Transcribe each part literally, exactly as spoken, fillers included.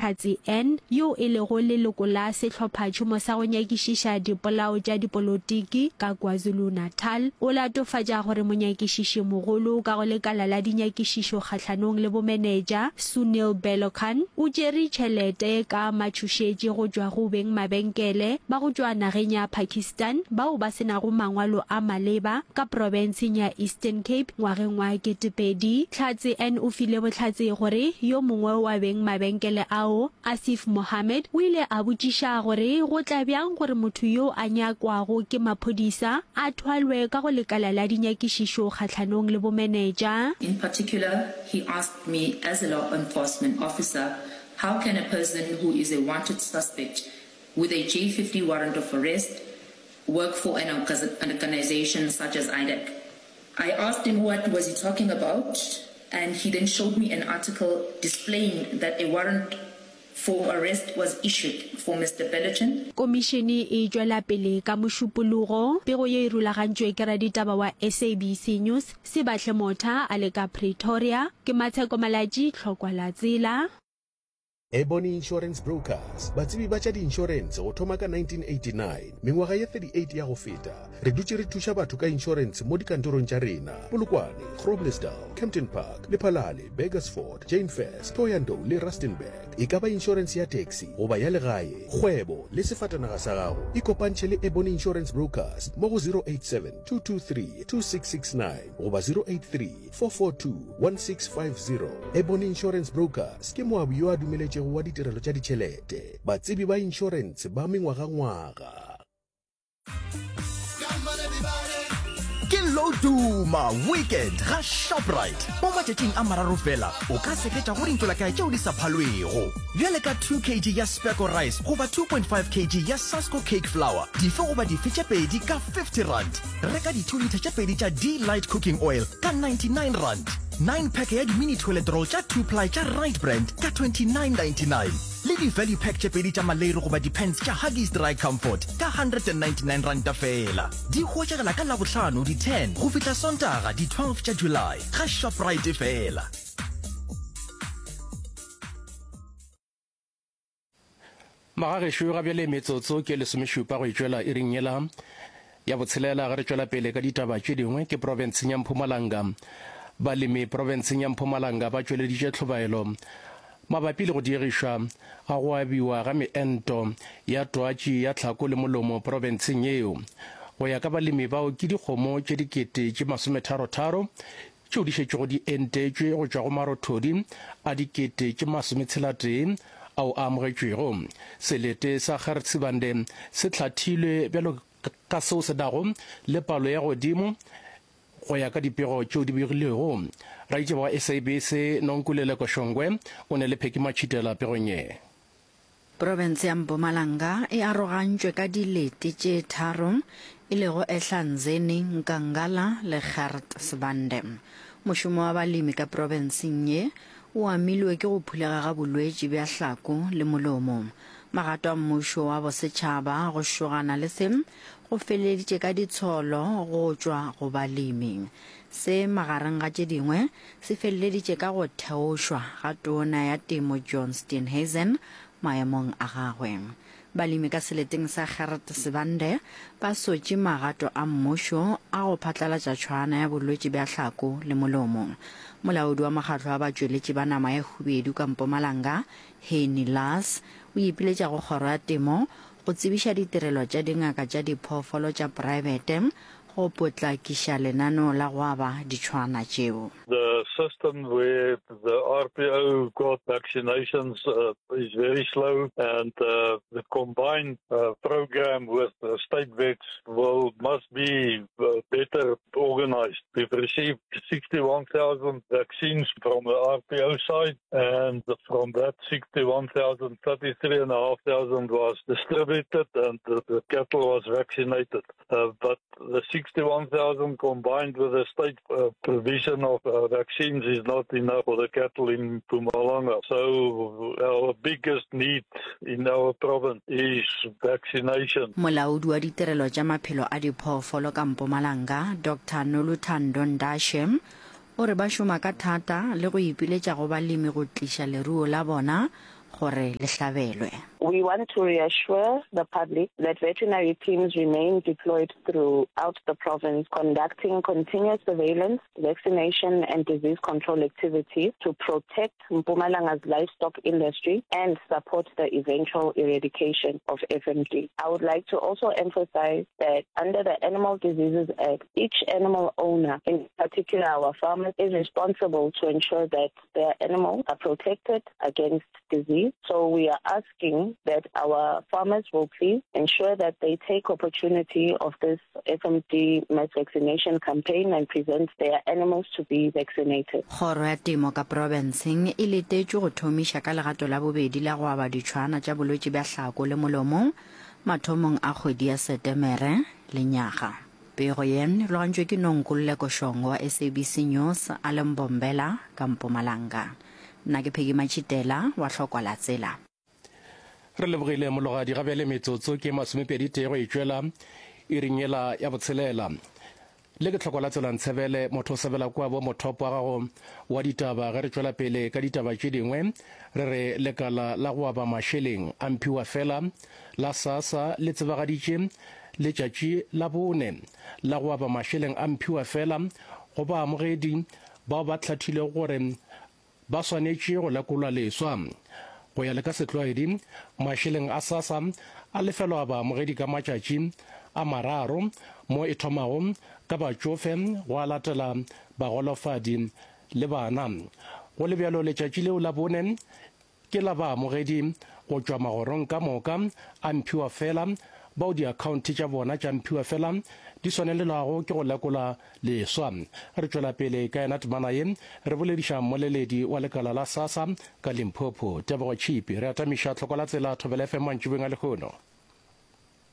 Hlatse N, yo e lego leloko la sehlophatšhomo sa go nyakišiša dipolao tša dipolotiki ka KwaZulu-Natal, o latofatša gore monyakišišimogolo ka go lekala la dinyakišišo kgahlanong le bomenetša, Sunil Bellocan, o tšere tšhelete ka matšhošetši go tšwa go beng mabenkele ba go tšwa nageng ya Pakistan bao ba se nago mangwalo a maleba ka profenseng ya Eastern Cape ngwageng wa ketepedi. Hlatse N o file bohlatse gore yo mongwe wa beng mabenkele ao, Asif Mohammed, o ile a botšiša gore go tla bjang gore motho yo a nyakwago ke maphodisa a thwalwe ka go lekala la dinyakišišo kgahlanong le bomenetša. In particular, he asked me as a law enforcement officer, how can a person who is a wanted suspect with a J fifty warrant of arrest work for an organization such as I D A C? I asked him what was he talking about, and he then showed me an article displaying that a warrant for arrest was issued for Mister Bellochin. Komišene e tšwela pele ka Mošupologo. Pego ye e rulagantšwe ke raditaba wa S A B C News, Sebahle Motha a le ka Pretoria. Ke Matsheko Malatji, Tlhokwa la Tsela. Ebony Insurance Brokers, batsebi ba tša diinšorense go thoma ka nineteen eighty-nine, mengwaga ye thirty-eight ya go feta, re dutše re thuša batho ka inšorense mo dikantorong tša rena, Polokwane, Groblersdal, Kempton Park, Lephalale, Burgersfort, Jane Furse, Thohoyandou le Rustenburg. E ka ba inšorense ya taxi goba ya legae, kgwebo le sefatanaga sa gago, ikopantšhe le Ebony Insurance Brokers mo go zero eight seven, two two three, two six six nine goba zero eight three, four four two, one six five zero. Ebony Insurance Brokers ke moabi yo a dumeletšego wa ditirelo tša ditšhelete, batsebi ba inšorense ba mengwagangwaga. Ke Loduma Weekend ga Shoprite. Mo matšatšing a mararo fela o ka seketša go dintšolakae tšeo di sa phalwego. Bjale ka two kg ya Speko rice goba two point five kg ya Sasco cake flour, dife goba dife tše pedi ka fifty rand. Reka di two litre tše pedi tša D-Light cooking oil ka ninety-nine rand. Nine pack ya di-mini toilet roll tša two ply tša Right Brand ka twenty-nine ninety-nine. Le di-value pack tše pedi tša maleiri goba di-pants tša Huggies Dry Comfort ka hundred and ninety-nine ranta fela. Di hwetšagala ka Labohlano di ten go fihla Sontaga di twelve tša July ga Shoprite fela. Magagešo ga bjale metsotso ke lesomešupa go itšwela iring yela ya botshelela ge re tšwela pele ka ditaba tše dingwe ke profenseng ya Mpumalanga. Balemi profenseng ya Mpumalanga ba tšweleditše tlhobaelo mabapi le go diegišwa ga go abiwa ga meento ya twatši ya tlhako le molomo profenseng yeo. Go ya ka balemi bao ke dikgomo tše dikete tše masometharo-tharo tšeo di šetšego di entetšwe go tšwa go marothodi a dikete tše masometshela-tee ao a amogetšwego. Selete sa Gert Sibande se hlathilwe bjalo ka seo se nago le palo ya godimo go ya ka dipego tšeo di begilwego. Raitšeba wa S A B C Nonkululeko Shongwe o ne le Pheki Matšhitela pegong ye. Profense ya Mpumalanga e arogantšwe ka dilete tše tharo, e lego Ehlanzeni, Nkangala le Gert Sibande. Mošomo wa balemi ka profenseng ye o amilwe ke go phulega ga bolwetši bja hlako le molomo. Magato a mmušo wa bosetšhaba go šogana le se go feleleditše ka ditsholo go tšwa go balemi. Se magareng ga tše dingwe se feleleditše ka go theošwa ga tona ya temo John Steenhuisen maemong a gagwe. Balemi ka seleteng sa Gert Sibande ba sotše magato a mmušo a go phatlalatša tšhwana ya bolwetši bja hlako le molomo. Molaodi wa mokgatlo wa batšweletši ba nama ya hubedu ka Mpumalanga, Henny Lars, o ipiletša go kgoro ya temo go tsebiša ditirelo tša dingaka tša diphoofolo tša praebete go potlakiša lenaneo la go aba ditšhwana tšeo. The system where the R P O got vaccinations, uh, is very slow, and, uh, the combined, uh, program with the state vets will must be, uh, better organized. We've received sixty-one thousand vaccines from the R P O side, and from that sixty-one thousand, thirty-three and a half thousand was distributed and the, the cattle was vaccinated. Uh, but the sixty-one thousand combined with the state, uh, provision of, uh, vaccines is not enough for the cattle in Mpumalanga. So our biggest need in our province is vaccination. Molaodi wa ditirelo tša maphelo a diphoofolo ka Mpumalanga, Doctor Noluthando Ndashe, o re ba šoma ka thata le go ipiletša go balemi go tliša leruo la bona gore le hlabelwe. We want to reassure the public that veterinary teams remain deployed throughout the province conducting continuous surveillance, vaccination and disease control activities to protect Mpumalanga's livestock industry and support the eventual eradication of F M D. I would like to also emphasize that under the Animal Diseases Act, each animal owner, in particular our farmers, is responsible to ensure that their animals are protected against disease. So we are asking that our farmers will please ensure that they take opportunity of this F M D mass vaccination campaign and present their animals to be vaccinated. Kgoro ya Temo ka profenseng e letetšwe go thomiša ka legato la bobedi la go aba ditšhwana tša bolwetši bja hlako le molomo mathomong a kgwedi ya Setemere lenyaga. Pego ye e logantšwe ke Nonkululeko Shongo wa S A B C News a le Mbombela ka Mpumalanga. Nna ke Peggy Machitela wa Hlokwa la Tsela. Re lebogile mologadi ga bjale metsotso ke masomepedi tee go e tšwela iring yela ya botshelela. Le ke tlhoko la tsela ntshebele motho o sebela kua bo mothopo wa gago wa ditaba. Ge re tšwela pele ka ditaba tše dingwe, re re lekala la go aba mašeleng a mphiwa fela la SASSA le tsebagaditše letšatši la bone la go aba mašeleng a mphiwa fela go baamogedi bao ba hlathilego gore ba swanetše go lekolwa leswa. Go ya le ka setlwaedi, mašeleng a SASSA a lefelwa baamogedi ka matšatši a mararo, mo e thomago ka batšofe go a latela bagolofadi le bana. Go le bjalo, letšatši leo la bone ke la baamogedi go tšwa magorong ka moka a mphiwa fela bao diakhaonte tša bona tša mphiwa fela di swanelelwago ke go lekola leswa. Re tšwela pele ka yena temana ye, re bolediša mmoleledi wa lekala la SASSA ka Limpopo, Tebogo Chipi. Re atamiša tlhoko la tsela Thobela F M mantšibeng a lehono.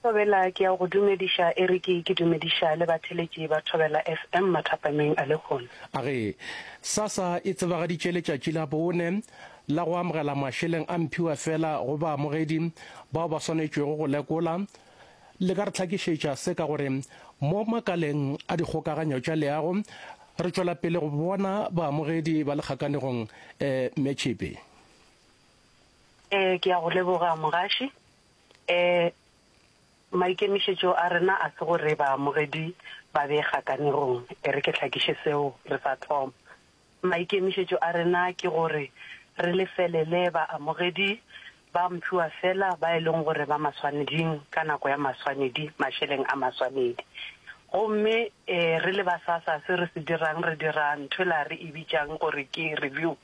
Thobela, ke ya go dumediša Eric, ke dumediša le batheletši ba Thobela F M mathapameng a lehono. A ge SASSA e tsebagaditše letšatši la bone la go amogela mašeleng a mphiwa fela go baamogedi bao ba swanetšwego go lekola, le ka re tlhakišetša se ka gore mo makaleng a dikgokaganyo tša leago re tšwela pele go bona baamogedi ba le kgakanegong um mme Chipi. Eh, ke ya go leboga mogaši. Eh, maikemišetšo a rena a se gore baamogedi ba be kgakanegong, e re ke tlhakiše seo re sa thoma. Maikemišetšo a rena ke gore re lefelele baamogedi ba mphiwa fela ba e leng gore ba maswaneding ka nako ya maswanedi, mašeleng a maswanedi. Gomme eh, re le ba SASSA se re se dirang, re dira ntho la re e bitsang gore ke review.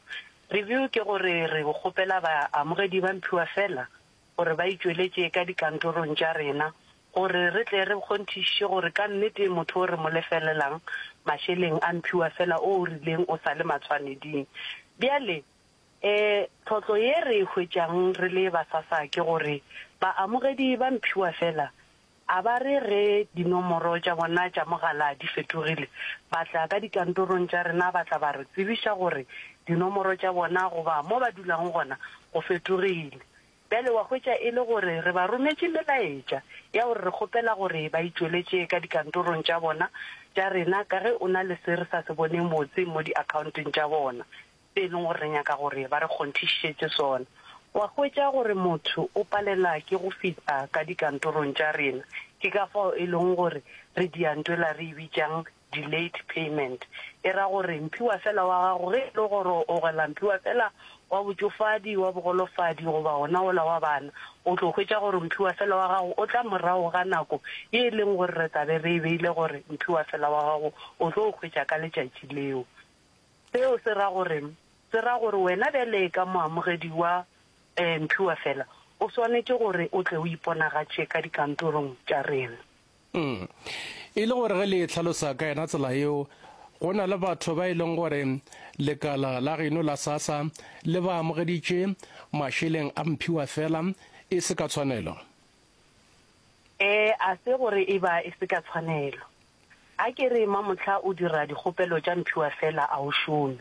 Review ke gore re kgopela baamogedi ba mphiwa fela gore ba itšweletše ka dikantorong tša rena, gore re tle re kgonthišiše gore ka nnete motho o re mo lefelelang mašeleng a mphiwa fela o o rileng o sa le matshwaneding. Bjale eh tlhotlo ye re e hwetšang re le ba SASSA ke gore baamogedi ba mphiwa fela a ba re ge dinomoro tša bona tša mogala di fetogile, ba tla ka dikantorong tša rena ba tla ba re tsebiša gore dinomoro tša bona goba mo ba dulang gona go fetogile. Bjale wa hwetša e le gore re ba rometše melaetša ya gore re kgopela gore ba itšweletše ka dikantorong tša bona tša rena, ka ge o na le se re sa se boneng botse mo diaccounteng tša bona, se e leng gore re nyaka gore ba re kgonthišetše sona. Wa hwetša gore motho o palela ke go fihla ka dikantorong tša rena, ke ka fao e leng gore re diantwela re e bitšang delayed payment. E ra gore mphiwa fela wa gago ge e le gore o gola mphiwa fela wa botšofadi, wa bogolofadi goba ona ola wa bana, o tlo hwetša gore mphiwa fela wa gago o tla morago ga nako ye e leng gore re tla be re e beile gore mphiwa fela wa gago o tlo hwetša ka letšatši leo. Seo se ra gore, se ra gore wena bjale ka moamogedi wa eh, mphiwa fela o swanetše gore o tle o iponagatše ka dikantorong tša rena. Mm. E le gore ge le tlhalosa ka yena tsela yeo, go na le batho ba e leng gore lekala la geno la SASSA le ba amogeditše mašeleng a mphiwa fela e se ka tshwanelo. Eh, a se gore e ba e se ka tshwanelo. A ke re mamohla o dira dikgopelo tša mphiwa fela a o šome,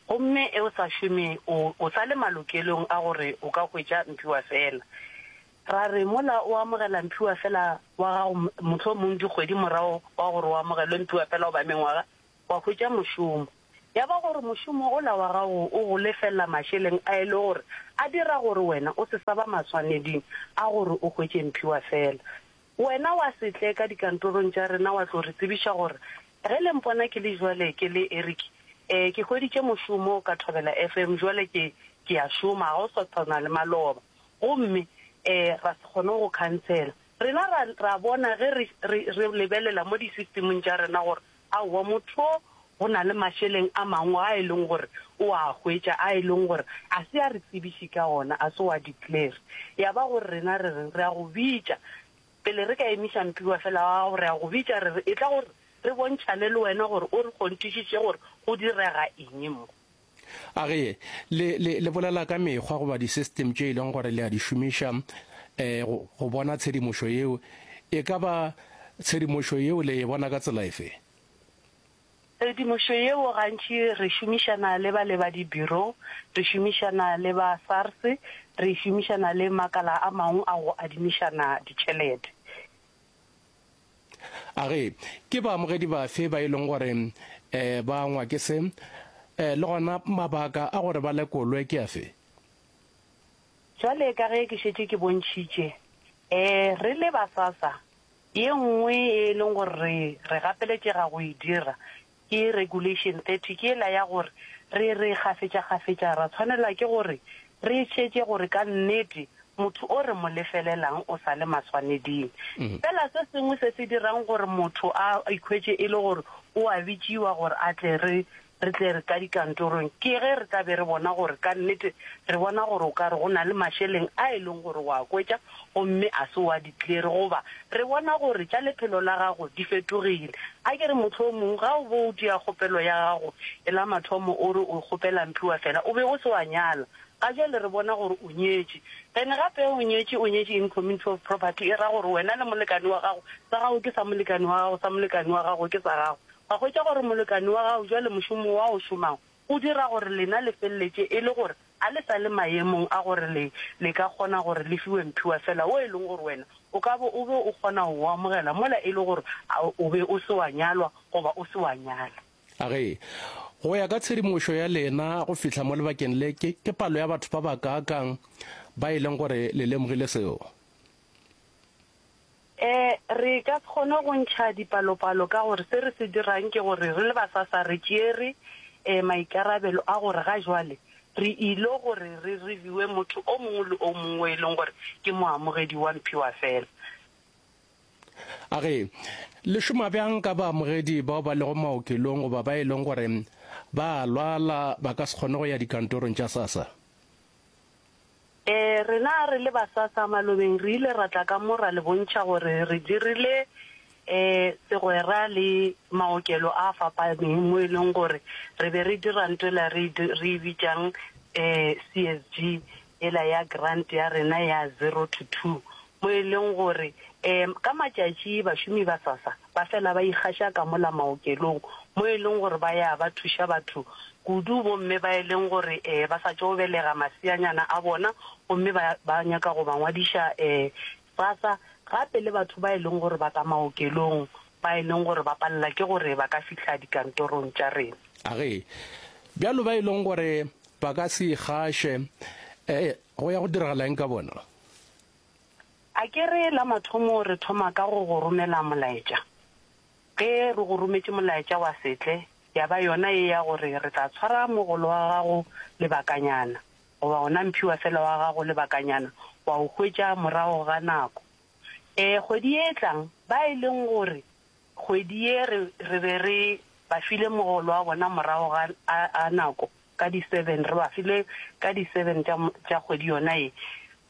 gomme e o sa šome o, o sa le malokelong a gore o ka hwetša mphiwa fela. Ra re mola o amogela mphiwa fela wa gago mohlomong dikgwedi morago wa gore o amogelwe mphiwa fela goba mengwaga, wa hwetša mošomo. Ya ba gore mošomo ola wa gago o go lefelela mašeleng a e le gore a dira gore wena o se sa ba maswaneding a gore o hwetše mphiwafela. Wena wa se tle ka dikantorong tša rena wa tlo re tsebiša gore ge le mpona ke le jwale ke le Eric, eh, ke hweditše mošomo ka Thobela F M jwale ke, ke a šoma, ga o sa tshwana le maloba. Gomme eh, ra se kgone go khansela. Rena ra, ra bona ge re, re, re lebelela mo di-systemong tša rena gore aowa motho o go na le mašeleng a mangwe a e leng gore o a hwetša a e leng gore a se a re tsebiše ka ona, a se wa declare. Ya ba gore rena re reng, re a go bitša pele re ka emiša mphiwafela wa gago, re a go bitša re re etla gore re bontšhane le wena gore o re kgonthišiše gore go direga eng mo. A re, le, le, le bolela ka mekgwa goba di-system tše e leng gore le a di šomiša um go, go bona tshedimošo yeo. E ka ba tshedimošo yeo le e bona ka tsela efe? Tshedimošo yeo gantši re šomišana le ba le ba di-bureau, re šomišana le ba SARS, re šomišana le makala a mangwe a go adimišana ditšhelete. A re, ke baamogedi bafe ba e leng gore um ba angwa ke se, um le gona mabaka a gore ba lekolwe ke afe? Jwale ka ge ke šetše ke bontšhitše, um re le ba SASSA, ye nngwe e leng gore re, re gapeletšega go e dira ke Regulation thirty, ke yela ya gore re re kgafetšakgafetša ra tshwanela ke gore re šetše gore ka nnete motho o re mo lefelelang o sa le maswaneding. Fela se sengwe se se dirang gore motho a ikhwetše e le gore o a bitšiwa gore a tle re re tle re ka dikantorong ke ge re tla be re bona gore ka nnete re bona gore o ka re go na le mašeleng a e leng gore wa hwetša gomme a se wa declare, goba re bona gore tša lephelo la gago di fetogile. A ke re mohlomong ga o bo o dia kgopelo ya gago e la mathomo o re o kgopela mphiwafela o be o se wa nyala, ga jwale re bona gore o nyetše. Ene gape o nyetše, o nyetše in community of property, e ra gore wena le molekane wa gago, sa gago ke sa molekane wa gago, sa molekane wa gago ke sa gago. Wa hwetša gore molekane wa gago jwale mošomo wa o šomago o dira gore lena le feleletše e le gore a le sa le maemong a gore le, le ka kgona gore le fiwe mphiwafela wo e leng gore wena o ka bo o be o kgona go o amogela mola e le gore a o be o se wa nyalwa goba o se wa nyala. A re, go ya ka tshedimošo ya lena go fihla mo lebakeng le, ke, ke palo ya batho ba bakaakang ba e leng gore le lemogile seo? E, re ka se kgone go ntšha dipalopalo ka gore se re se dirang ke gore re le ba SASSA re tšeere e, maikarabelo a gore ga jwale re ilo gore re reviewe motho o mongwe le o mongwe e leng gore ke moamogedi wa mphiwafela. A re, le šoma bjang ka baamogedi bao ba lego maokelong goba ba e leng gore ba a lwala ba ka se kgone go ya dikantorong tša SASSA? E, rena re le ba SASSA malobeng re ile ra tla ka mo ra le bontšha gore re dirile e segwera le maokelo a fapaneng mo e leng gore re be re dira ntho ela re re e bitšang eh C S G ela ya grant ya rena ya zero to two, mo e leng gore um ka matšatši bašomi ba SASSA ba fela ba ikgaša ka mola maokelong mo e leng gore ba ya ba thuša batho kudu bomme ba e leng gore um ba sa tšo belega maseanyana a bona gomme ba ba nyaka go ba ngwadiša um SASSA, gape le batho ba e leng gore ba ka maokelong ba e leng gore ba palela ke gore ba ka fihla dikantorong tša rena. A re, bjalo ba e leng gore ba ka se ikgaše, um go ya go diragala eng ka bona? A ke re la mathomo re thoma ka go go romela molaetša. Ge re go rometše molaetša wa setle, ya ba yona e ya gore re tla tshwara mogolo wa gago lebakanyana goba ona mphiwafela wa gago lebakanyana wa o hwetša morago ga nako. E kgwedi e tlang ba e leng gore kgwedi ye re re be re ba file mogolo wa bona morago ga a, a nako ka di-seven, re ba file ka di-seven tša tša kgwedi yona ye,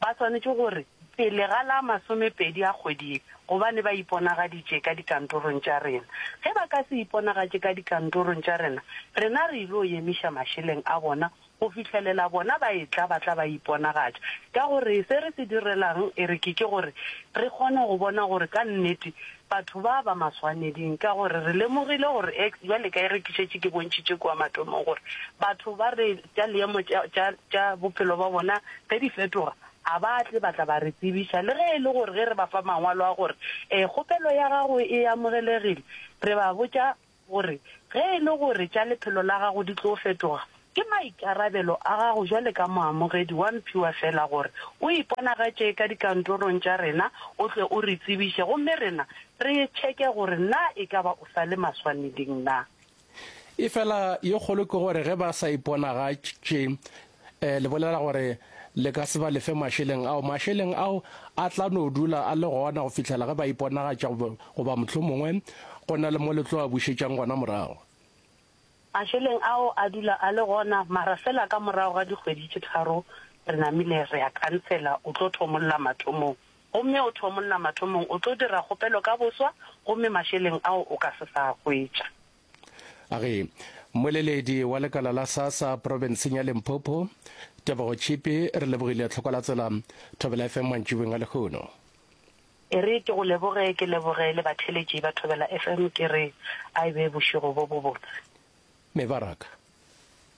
ba swanetše gore pele ga la masomepedi a kgwedi ye gobane ba iponagaditše ka dikantorong tša rena. Ge ba ka se iponagatše ka dikantorong tša rena, rena re ilo emiša mašeleng a bona go fihlelela bona ba etla ba tla ba iponagatša. Ka gore se re se direlang e re ke ke gore re kgone go bona gore ka nnete batho ba ba maswaneding, ka gore re lemogile gore ex bjale ka e re ke šetše ke bontšhitše kua mathomong gore batho ba re tša leemo tša tša tša bophelo ba bona ge di fetoga a ba tle ba tla ba re tsebiša, le ge e le gore ge re ba fa mangwalo a gore um kgopelo ya gago e amogelegile, re ba botša gore ge e le gore tša lephelo la gago di tlo fetoga, ke maikarabelo a gago jwale ka moamogedi wa mphiwafela gore o iponagatše ka dikantorong tša rena o tle o re tsebiše gomme rena re tšheke gore na e ka ba o sa le maswaneding na. Efela ye kgolo ke gore ge ba sa iponagatše, le bolela gore le ka se ba lefe mašeleng ao. Mašeleng ao a tla no dula a le gona go fihlela ge ba iponagatša goba mohlomongwe go na le mo le tlo a bušetšang gona morago. Mašeleng ao a dula a le gona, mara fela ka morago ga dikgwedi tše tharo re namile re a khansela, o tlo thomolla mathomong. Gomme o thomolla mathomong, o tlo dira kgopelo ka boswa gomme mašeleng ao o ka se sa a hwetša. A re, Mmoleledi wa lekala la SASSA profenseng ya Limpopo, Tebogo Tšhipi, re lebogile tlhoko la tsela Thobela F M mantšiboeng a lehono. E re ke go leboge, ke leboge le batheeletši ba Thobela F M, ke re a e be bošego bo bobotse. Mebaraka.